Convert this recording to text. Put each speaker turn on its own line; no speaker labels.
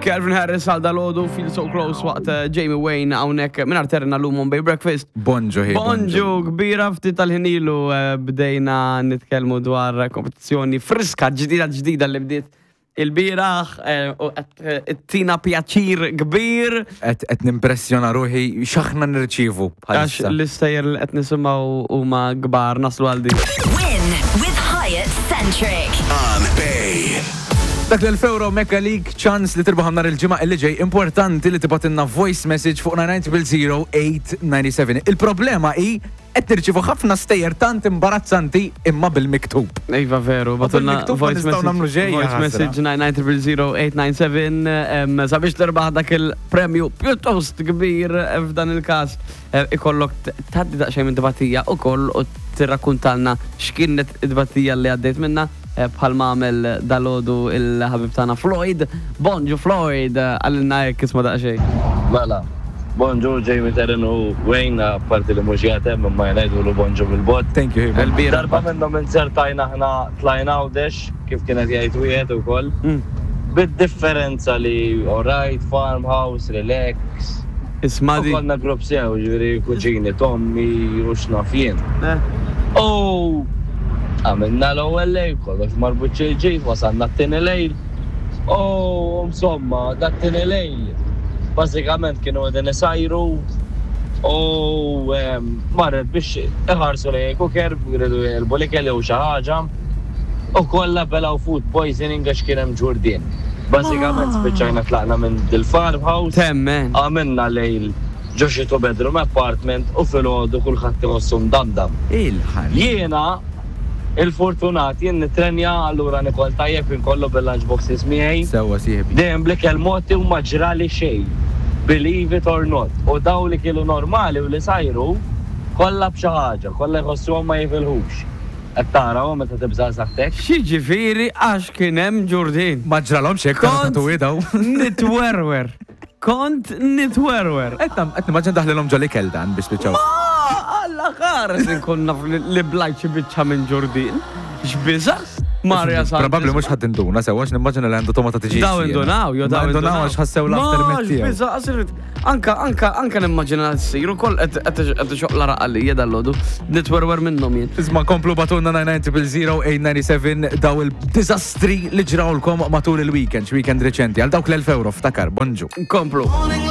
Calvin Harris għal dalodu Feel So Close waqt eh, Jamie Wayne hawnhekk minn terna l-lum on Bay Breakfast.
Bonġu ħi.
Bonġu kbira ftit tal-ħinilu eh, bdejna nitkellmu dwar kompetizzjoni friska ġdida ġdida li bdiet il-bieraħ eh, u qed tina pjaċir kbir.
Qed nimpressjona ruħi x'aħna nirċievu
Għax
bħalissa.
l-istejjer li qed nisimgħu huma kbar naslu għal din.
Win with Hyatt Centric.
On Bay.
Dak l-1000 euro Mecca League ċans li tirbaħ nhar il-ġimgħa illi ġej importanti li tibgħatilna voice message fuq 9900897. Il-problema hi qed nirċievu ħafna stejjer tant imbarazzanti imma bil-miktub.
Iva veru, bagħtulna
bil-miktub ma
voice
nistgħu nagħmlu
message,
xejn,
voice
ħasra.
message 9900897 sabiex tirbaħ dak il-premju pjuttost kbir eh, f'dan il-każ eh, ikollok tgħaddi daqsxejn minn tbatija ukoll u tirrakkuntalna x'kienet it-tbatija li għaddejt minna eh, bħalma għamel dalodu il-ħabib tagħna Floyd. Bonġu Floyd, eh, għalilna hekk isma' daqsxejn.
Mela, bonġu Jamie Terren u Wayne, apparti li mhux jgħatem imma jgħidulu bonġu bil-bot.
Thank you. Hiba.
Il-bira.
Darba minnhom inzertajna aħna tlajna Għawdex, kif kienet jgħid wieħed ukoll. Bid-differenza li alright, farmhouse, relax.
Isma'
U
di.
konna grupp sew, ġifieri kuġini Tommy u x'naf jien.
Eh.
U għamilna l-ewwel lejl, kollox marbut xi wasalna t-tieni lejl. U insomma, dat tieni lejl, bażikament kienu qegħdin isajru u marret biex iħarsu lejn il-cooker, jridu jqelbu l-ikel jew xi ħaġa. U kollha belgħu food poisoning għax kien hemm ġurdien. Bażikament spiċċajna tlaqna minn dil-farmhouse.
Temmen.
Għamilna lejl ġo xi two bedroom apartment u filgħodu kulħadd iħossu mdamdam.
Il-ħan.
Jiena il-fortunat jien nitrenja allura nikol tajjeb inkollu bil-lunch boxes miegħi.
Sewwa sieħbi.
Dejjem bl-ikel mogħti u ma ġrali xejn. Believe it or not. U daw li kielu normali u li sajru kollha b'xi ħaġa, kollha jħossuhom ma jifilħux. Qed tara hu meta tibża' saħtek.
X'jiġifieri għax kien hemm ġurdien.
Ma ġralhomx hekk
Kont
tatuwi daw.
nitwerwer. Kont nitwerwer.
Qed qed nimmaġina daħlilhom ġol ikel dan biex spiċċaw.
Ma Alla ħares inkun naf li blajt xi biċċa minn ġurdien. X'biża? Maria Santissima.
Probabbli mhux ħadd induna sewwa għax nimmaġina li għandu tomata tiġi.
Daw indunaw, jo daw
indunaw għax ħassew l-aftermath
Ma
tiegħu.
x'biża, qasir anka anka anka nimmaġina ssir ukoll qed qed ixoqla raqalija dal-għodu. Nitwerwer minnhom jien.
Isma komplu bagħtulna 9900897 daw il-dizastri li ġrawlkom matul il-weekend, weekend reċenti, għal dawk l-1000 euro, ftakar, bonġu.
Komplu.